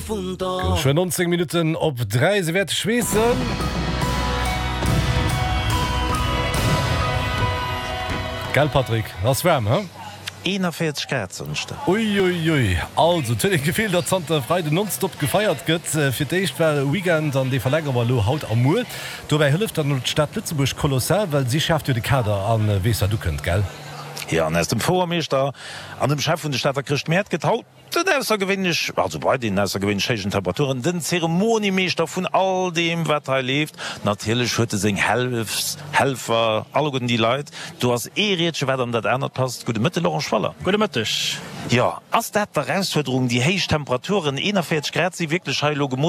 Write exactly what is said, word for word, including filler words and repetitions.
Geschwë nonzéng Minutten op dräi, se wäerte schweessen. Gell Patrick, ass waarm, he? eenanvéierzeg Grad Samschden. Uiuiui, also et huet een d'Gefill, datt zanter Freiden nonstop gefeiert gëtt. Fir d'éischt war Weekend an dee verlängere mer elo haut a muer. Dobäi hëlleft dann elo d'Stad Lëtzebuerg kolossal, well si schaaft jo de Kader a weess wat ukënnt, gell? Jo, an aus dem Fouermeeschter an dem Chef vun de Stater Chrëschtmäert gëtt haut den aussergewéinlech, also bei deenen aussergewéinlech héijen Temperaturen, den Zeremoniemeeschter vun all deem, wat hei leeft. Natierlech huet e seng Helfs, Helfer, alleguerten déi Leit. Do ass ee Riedche, wat an dat anert passt. Gudde Mëtte, Laurent Schwaller. Gudde Mëtteg. Jo, ass dat d'Erausfuerderung, déi héich Temperaturen, eenanvéierzeg Grad si wierklech hei elo gemooss.